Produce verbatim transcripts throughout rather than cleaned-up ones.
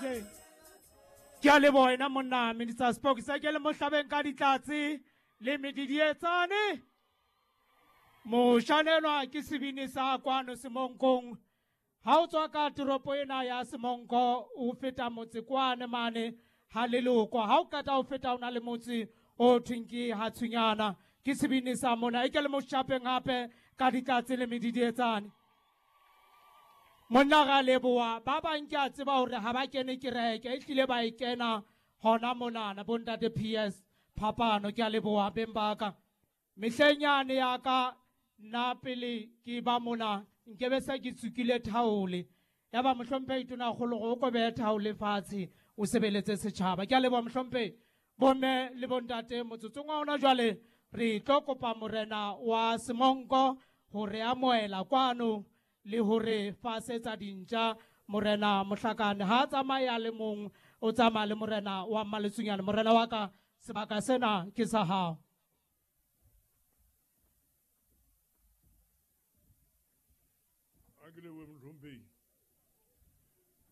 D J. Ke a leboha wena monna Minister Spokes ke le mohlabeng ka ditlatse le medidietsane. Moshanelwa ke sebini sa kwano Semonkong. Ha o tswa ka toropo ena ya Semonko o feta motse kwane mane ha leloko. Ha o qeta ho feta o na le motse o thweng ke ha Tshunyana. Ke sebini sa mona e ke le moshapeng hape ka ditlatse le medidietsane. Monna ra leboha ba bang ke a tseba hore ha ba kene kereke e hlile ba e kena hona monana bontate P S Phapano ke a leboha beng ba ka. Mehleng yane ya ka nna pele ke ba mona nkebe se ke tsukile thaole ya ba mohlomphehi tonakgolo go o ko behe thaole fatshe o sebeletse setjhaba. Ke a leboha mohlomphehi. Bomme le bontate motsotsong wa hona jwale re tlo kopa morena wa Semonko hore amohela kwano le hore fasetsa dintja morena Mohlakane ha tsamaya le mong o tsamaya le morena wa Mmaletsunyane. Morena wa ka sebaka sena ke sa hao. A ke lebohe mohlomphehi.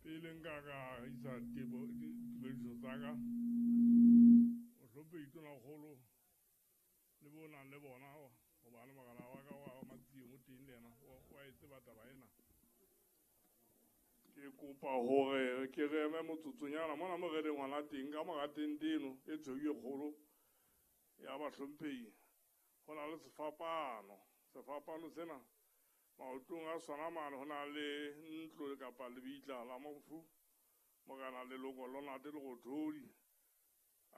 Pele nka ka isa tebo ditumediso tsa ka mohlomphehi tonakgolo le bo nang le bona hobane mogala wa ka wa Matsieng o teng le yena wa e tseba taba ena. Ke kopa hore ke re eme motsotsonyana mona mo re leng hona teng ka mora tente eno e tshweu e kgolo ya bahlomphehi. Ho na le sefapano. Sefapano sena maotong a sona mane ho na le ntlo kapa lebitla la mofu morena Leloko Lonate Lerothodi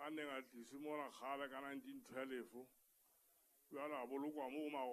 a neng a tliswe mona kgale ka nineteen twelve. Jwale a bolokwa moo.